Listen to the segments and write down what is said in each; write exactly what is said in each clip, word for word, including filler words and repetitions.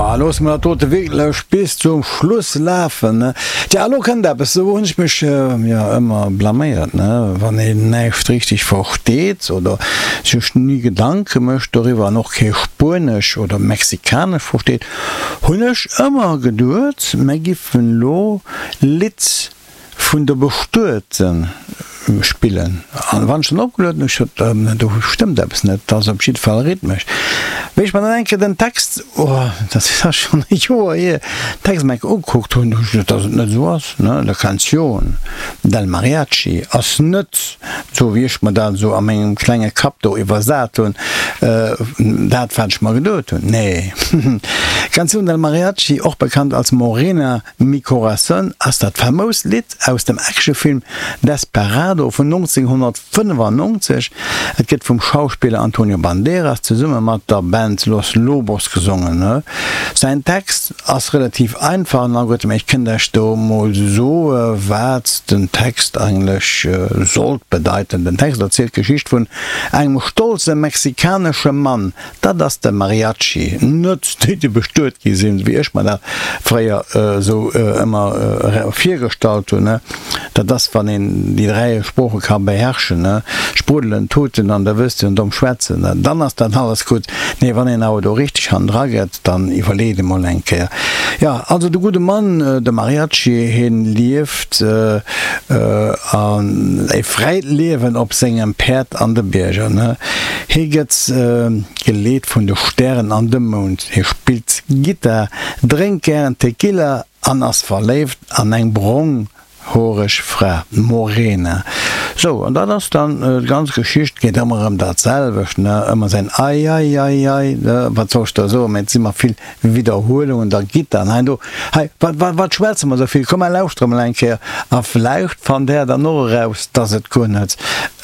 Jo, loosse mer dat dote wierklech bis zum Schluss lafen, ne? Tja, elo kënnt eppes, do hunn ech mech jo ëmmer blaméiert, ne? Wann een näischt richteg versteet oder sech ni Gedanke mécht doriwwer an och kee Spuenesch oder Mexikanesch versteet, hunn ech ëmmer geduet, mer giffen elo Lidd vun der Bestuete spillen. An wann ech dann opgelueden hunn, hu ech gesot, do stëmmt eppes net, dat ass op jidde Fall rhythmesch. Wéi ech mer dann eng Kéier den Text, oh, dat ass schonn e Joer hier, den Text emol eng Kéier ugekuckt hunn, hu ech gesot, dass et net esou ass, ne, La canción del mariachi ass net esou, wéi ech mer dat esou a mengem klenge Kapp do iwwersat hunn, dat wat ech mer geduet hunn. Nee, Canción del mariachi, och bekannt als Morena mi corazón, ass dat famoust Lidd aus dem Actionfilm Desperado vun nonzénghonnertfënnefannonzeg. Et gëtt vum Schauspiller Antonio Banderas zesumme mat der Band Los Lobos gesongen. Säin Text ass relativ einfach an alleguerte, mä ech kënnt Iech do mol soe wat den Text eigentlech sollt bedeiten. Den Text erzielt d'Geschicht vun engem stolze mexikanesche Mann, dat ass de Mariachi, net déi déi bestuet gi sinn, wéi ech mer dat fréier esou ëmmer virgestallt hunn, dat ass wann een déi dräi Sprooche ka beherrschen, spruddelen, tuten an da wësst een domm schwätzen, dann ass dat alles gutt. Nee, wann een awer do richteg hannendra gëtt, dann iwwerleet emol eng Kéier. Jo, also de gudde Mann, de Mariachi, hien lieft e fräit Liewen op sengem Päerd an de Bierger. Hie gëtt geleet vun de Stären an dem Mound. Hie spillt Gittar, drénkt gären Tequila an ass verléift an eng bronghoreg Fra, d'Morena. Sou, an dat ass dann d'ganz Geschicht. Geet ëmmer erëm dat selwecht, ne? Ëmmer säin Ei, ei, ei, ei, ne? Wat soll ech da soen? Mä et si mer vill Widderhuelungen, da Gittar an hei an do. Hei, wat, wat, wat schwätze mer esou vill? Komm, mer lauschtere mol eng Kéier a vläicht fannt Där dann och eraus, dass et guer net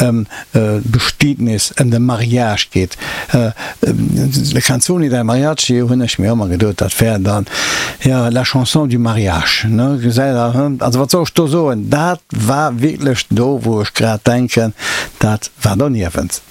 ëm d'Bestietnis, ëm de Mariage geet. La canzone del mariachi hunn ech mir ëmmer geduet, dat wär dann, jo, la chanson du mariage, ne, gesäit Der, hm. Also wat soll ech do soen, dat war wierklech do, wou ech grad denken, dat war doniewent.